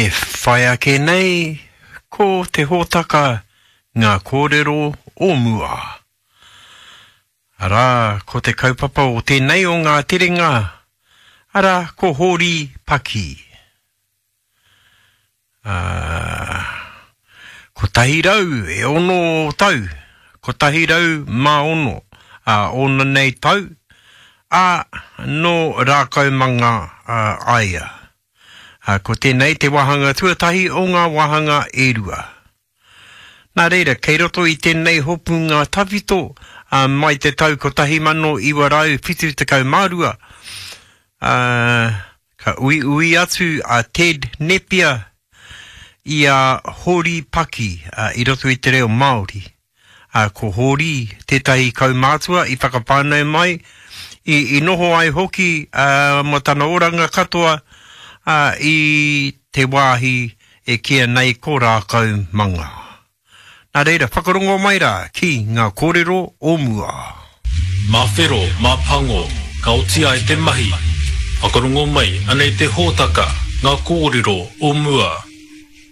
E whai ake nei ko te hōtaka Ngā Kōrero o Mua. Arā, ko te kaupapa o tēnei o ngā terenga, arā, ko Hōri Paki. Ā, 106 tau, 106, ā, ōna nei tau, ā, nō Rākaumanga a ia. Ā, ko tēnei te wāhanga tuatahi o ngā wāhanga e rua. Nā reira, kei roto i tēnei hopunga tawhito, ā, mai te tau 1972, ā, ka uiui atu a Ted Nepia i a Hōri Paki, ā, i roto i te reo Māori. Ā, ko Hōri tētahi kaumātua i whakawhānau mai, i, i noho ai hoki, ā, mō tana oranga katoa, ā, i te wāhi e kīia nei ko Rākau Manga. Nā reira, whakarongo mai rā ki ngā kōrero o mua. Mā whero, mā pango, ka oti ai te mahi. Whakarongo mai, anei te hōtaka, ngā kōrero o mua.